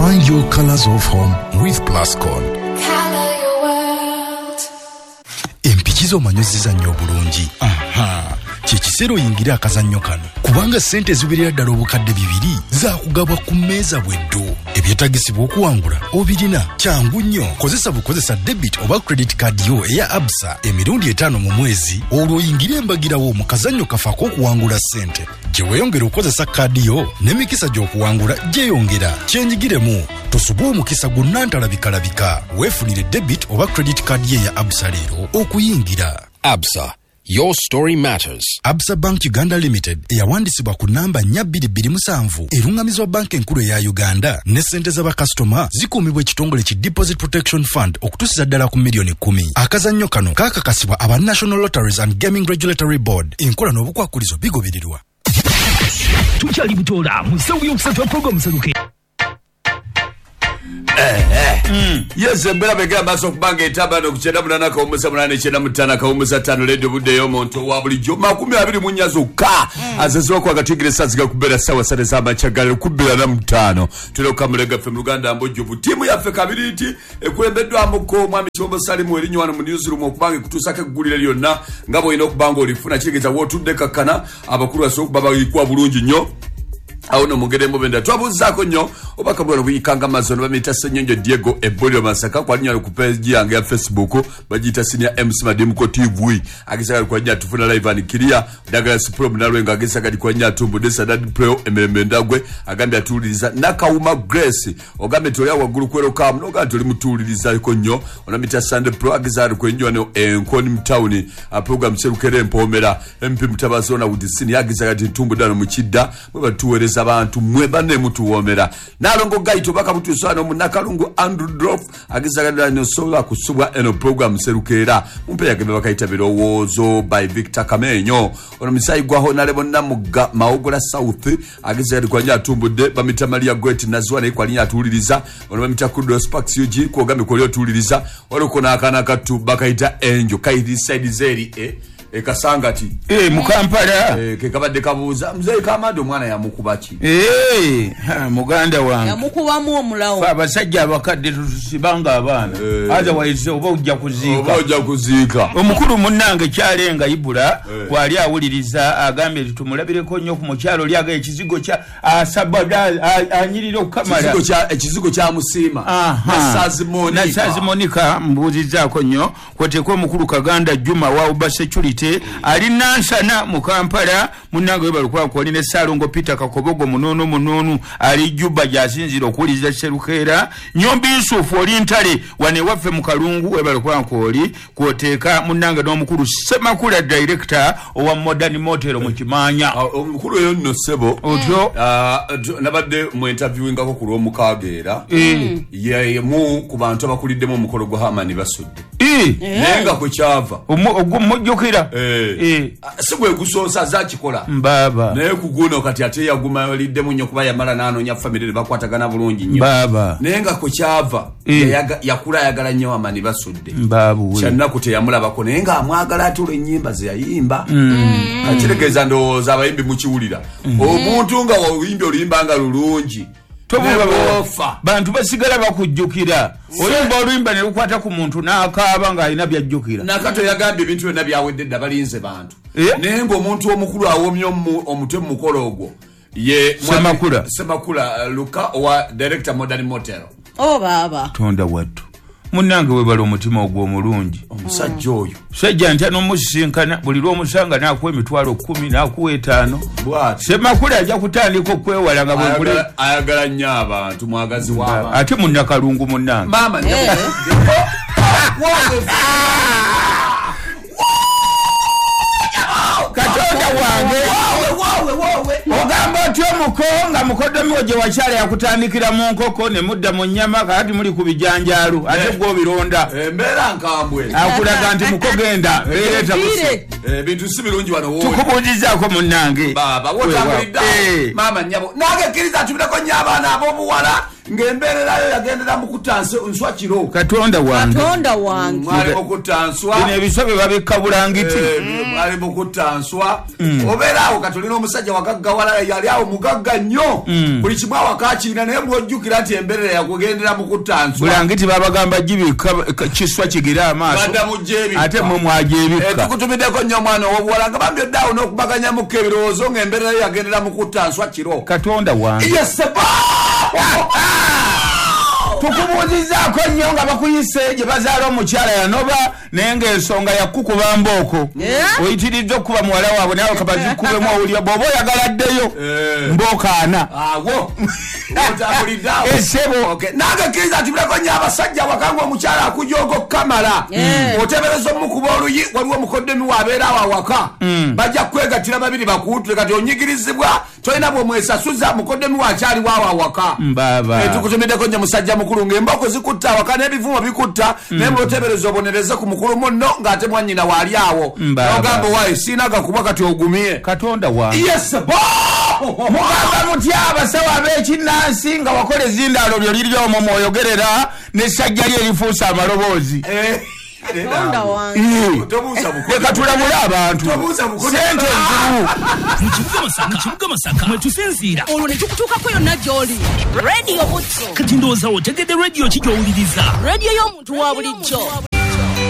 Find your colors of home with Plascon. Color your world. Empiki z'omanyi zizannya obulungi. Aha, kye kiseera oyingire akazannyo kano, kubanga ssente eziwerera ddala 2000 zaakugabwa ku mmeeza bweddo. Ebyetagisibwa okuwangula obirina, kyangu nnyo. Kozesa bukozesa debit oba credit card yo eya Absa emirundi 5 mu mwezi, olwo oyingire embagirawo mu kazannyo kaffe ak'okuwangula ssente. Gye weeyongera okukozesa kaadi yo n'emikisa gy'okuwangula gyeyongera. Kyenyigiremu, tosubwa omukisa gunnantalabikalabika. Weefunire debit oba credit card ye eya Absa leero okuyingira. Absa, your story matters. Absa Bank Uganda Limited eyawandisibwa ku namba 4227 erungamizwa banka enkulu eya Uganda ne ssente z'abakasitoma zikuumibwa ekitongole ki Deposit Protection Fund okutuusiza ddala ku miliyoni 10. Akazannyo kano kaakakasibwa aba National Lotteries and Gaming Regulatory Board. Enkola n'obukwakulizo bigobererwa. Tukyali butoola mu ssaawa yokusatu ya program Seruke. Yes, embeera begera maaso okubanga etamba no ku 98.8 95 ledio budde y'omuntu owa bulijjo 24 zokka azeziwako agatigire saa kubeera ssaawa 3 z'amakya galero ku 25. Tulina okukamulega ffe mu Luganda mbujjuvu. Ttiimu yaffe kabiriiti ekulembeddwamuko omwami Kibombo Salimu erinnya wano mu newsroom okubanga ekutuusako eggulire lyonna nga bw'olina okuba nga olifuna. Kitegeeza w'otudde kakkana abakulu basobola okuba bayikuwa bulungi nnyo. Awo no mugere mubenda twabuzaako nnyo obaka bwano buyikanga amazzi ono bamuyita Ssenyonjo Diego Ebolio Masaka kwalinnya ku page yange ya Facebook bagiyita Senior MC Madimuko TV agezaga kwanya tufuna live and clear. Douglas Pro Munalwenga agezaga kwanya tumbudde Sadad Pro emirembe ndagwe agambye atuwuliriza. Nakawuma Grace ogambye toli waggulu kwerokamu n'ogamba toli mutuwulirizako nnyo. Onamita Sunday Pro agezaga kwenjwa no Enkoni Mtawuni program Serukere Empomera MP Mutabazi ona Udisini agezaga ati ntumbudde ano mu Kidda mwe batuweereza abantu mwe banne mutuwoomera. Nalongo Gaito baka mutuusano mu Nakalungu Andrew Drop agezaga nosobola kusubwa eno program Serukeera mumpe yagebe bakayita birowoozo by Victor Kamenyo. Ono misayi gwa Honorable Namugga Mawogola South agezaga kwanya atumbudde bamita Maria Goethe Nazwa naye kwalinya atuwuliriza. Ono bamita Kudos Pax UG kwogambe kwoli otuwuliriza. Olwo n'akaana kattu bakayita Angel kairi side zeri ekasangati mu Kampala ke kabadde kabuuza muzeeyi Kamado omwana yamukuba ki? Muganda wange yamukubamu omulawo. Abasajja abakadde tutusibanga abaana, otherwise oba ojja kuziika, oba ojja kuziika. Omukulu munnange Kyalenga Ibula kwali awuliriza agambye nti tumulabireko nnyo ku mukyalo oli aga ekizigo kya asabada anyirira okukamala ekizigo kya Musiima Nasazi Monica mbuuzizzaako nnyo kweteeka omukulu Kaganda Juma wa Uba Security ali Nansana mu Kampala munnange webale kwali ne Ssalongo Peter Kakobogo munono ali Juba gy'asinziira okuwuliriza Serukeera. Nyombi Yusufu oli Ntale wano ewaffe mu Kalungu webale kwoli kwoteeka munnange n'omukulu Ssemakula director owa Modern Motel mu Kimanya. Omukulu oyo nno ssebo otyo nabadde mu interviewingako ku Lwomukaaga era yemu ku bantu abakuliddemu omukolo gwa Hamani Basudde naye nga kwe kyava omujjukira si gwe gusoosa zakikola mbaba naye kuguno kati ate yagumaliddemu nnyo kuba yamala n'anoonya famire ne bakwatagana bulungi nnyo naye nga kwe kyava yakula ayagala nnyo Hamani Basudde kyannaku teyamulabako naye ng'amwagala ate olw'ennyimba ze yayimba. Kakitegeeza ndowooza abayimbi mukiwulira omuntu nga oyimbye oluyimba nga lulungi bantu basigala bakujjukira. Oluyimba oluyimba ne lukwata ku muntu n'akaaba ng'alina byajjukira. Nakato yagambye ebintu byonna byawedde dda balinze bantu naye ng'omuntu omukulu awomye omutwe mu mukolo ogwo ye Ssemakula Luka owa director Modern Motel. Oh baaba Tonda wattu munnange webala omutima ogwo omulungi omusajja oyo musajja ntya n'omusisinkana buli lw'omusanga n'akuwa emitwalo 10 n'akuwa 5. Ssemakula ajja kutandika okwewala nga bwe ayagala nnyo abantu mwagazi w'abantu ate munnakalungu munnange maama Katonda wange ogamba otyo omuko nga mukoddomi gye wakyala yakutandikira mu nkoko ne mudda mu nnyama kakati muli ku bijanjaalo ate gw'obironda embeera nkambwe akulaga nti mukogenda beereeta ebintu si birungi wano wooli tukubuuzizaako munnange baaba wotambulidde maama nnyabo nange kkiriza atumireko nnyo abaana ab'obuwala Ng'embeererayo yagendera mu kutta nswa kiro. Katonda wange. Katonda wange. Mwali mu kutta nswa. Bino ebiswa bye babikka bulangiti. Mwali mu kutta nswa. Obeera awo kati olina omusajja wagaggawala, yali awo mugagga nnyo. Buli kimu awaka akirina, naye bw'ojjukira nti embeerera yakugendera mu kutta nswa. Bulangiti babagamba gibikka kiswa kigire amaaso. Badda mu gyebikka. Ate mmwe mwagyebikka. Tukutumiddeko nnyo omwana ow'obuwala nga bambi odde awo n'okubaganyamuko ebirowoozo ng'embeerera yagendera mu kutta nswa kiro. Katonda wange. Yes, sir. Tukubuuzizaako nnyo nga bakuyise gye bazaala omukyala yanoba, naye ng'ensonga yakukuba mbooko. Oyitiridde okukuba muwala waabwe nawe kabazikubemu owulira bw'oba oyagala addeyo mbooko ana. Awo otambulidde awo. Essebo. Okay. Nange kkiriza nti buleko nnyo abasajja awaka ng'omukyala akujooga okukamala. Oteebereza omukuba oluyi, waliwo omukoddemi waabeera awo awaka. Bajja kwegattira babiri bakuwutule, kati onyigirizibwa tolina bw'omwesasuza, mukoddemi waakyaliwo awo awaka. Mbaaba. Tukutumiddeko nnyo musajja mukulu ng'emboko zikutta awaka n'ebivumo bikutta, naye bw'oteebereza obonereze ku mukulu munno ng'ate mwannyina waali awo. Mbaaba. N'ogamba waayi siina gakuba kati ogumye. Katonda wange. Yes, bo! Mugamba mutya abasawo ab'ekinnansi nga wakola ezindaalo lyo liri omwo mwoyogerera n'essajja lye erifuuse amaloboozi. Katonda wange. Tobuuza bukono. Leka tulabule abantu. Tobuuza bukono. Ssente nzibu. Mu kibuga Masaka, mu kibuga Masaka mwe tusinziira. Olwo ne tukutuukako yonna gy'oli. Radio Butto. Kati ndowooza otegedde radio ki gy'owuliriza. Radio y'omuntu wa bulijjo.